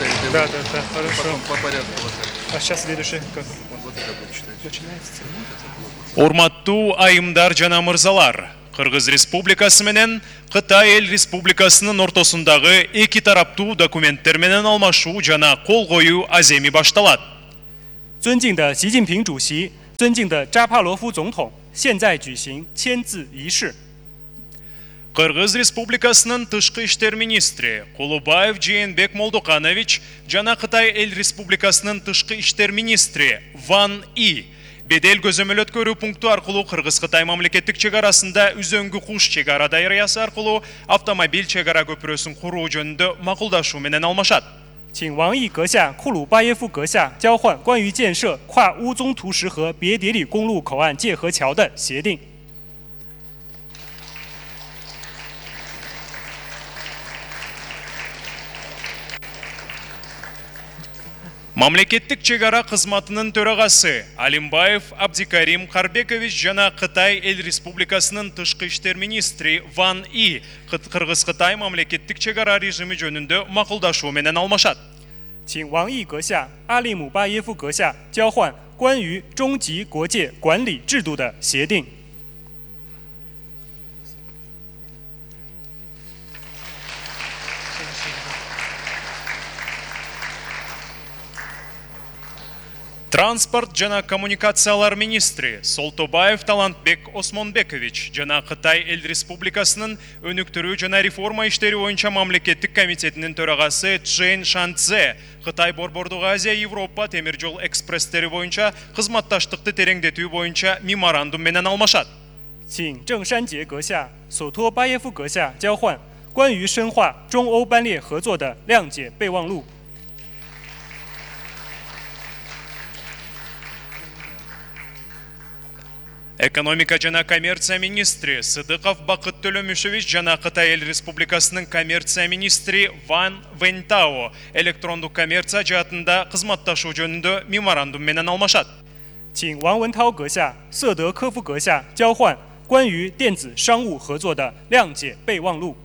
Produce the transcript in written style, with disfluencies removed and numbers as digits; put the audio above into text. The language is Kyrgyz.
читаете? Да, хорошо. Потом по порядку. А сейчас следующий как? Вот это будет читать. Начинается. Урматтуу айымдар жана мырзалар, Кыргыз Республикасы менен Кытай Эл Республикасынын ортосундагы эки тараптуу документтер менен алмашуу жана кол коюу аземи башталат. 尊敬的习近平主席，尊敬的扎帕罗夫总统，现在举行签字仪式。 Кыргыз Республикасынын тышкы иштер министри Кулубаев Жээнбек Молдоканович жана Кытай Эл Республикасынын тышкы иштер министри Ван И бедел көзөмөл өткөрүү пункту аркылуу Кыргыз-Кытай мамлекеттик чек арасында үзөңгү куш чек ара даярыясы аркылуу автомобиль чек ара көпүрөсүн куруу жөнүндө макулдашуу менен алмашат. 请王毅阁下、库鲁巴耶夫阁下交换关于建设跨乌宗图什河别迭里公路口岸界河桥的协定。 Мамлекеттик чек ара кызматынын төрагасы Алимбаев Абдикарим Карбекович жана Кытай Эл Республикасынын тышкы иштер министри Ван И Кыргыз-Кытай мамлекеттик чек ара режими жөнүндө макулдашуу менен алмашат. 请王毅阁下、阿利姆巴耶夫阁下交换关于中级国界管理制度的协定。 Транспорт жана коммуникациялар министри Солтобаев Талантбек Осмонбекович жана Кытай Эл Республикасынын өнүктүрүү жана реформа иштери боюнча мамлекеттик комитетинин төрагасы Чжэн Шанцзе Кытай Борбордук Азия Европа темир жол экспресстери боюнча кызматташтыкты тереңдетүү боюнча меморандум менен алмашат. 请郑山杰阁下、索托巴耶夫阁下交换关于深化中欧班列合作的谅解备忘录。 Экономика жана коммерция министри Сыдыков Бакыт Төлөмүшевич жана Кытай Эл Республикасынын коммерция министри Ван Вэньтао электрондук коммерция жаатында кызматташуу жөнүндө меморандум менен алмашат. 请王文涛阁下、瑟德科夫阁下交换关于电子商务合作的谅解备忘录。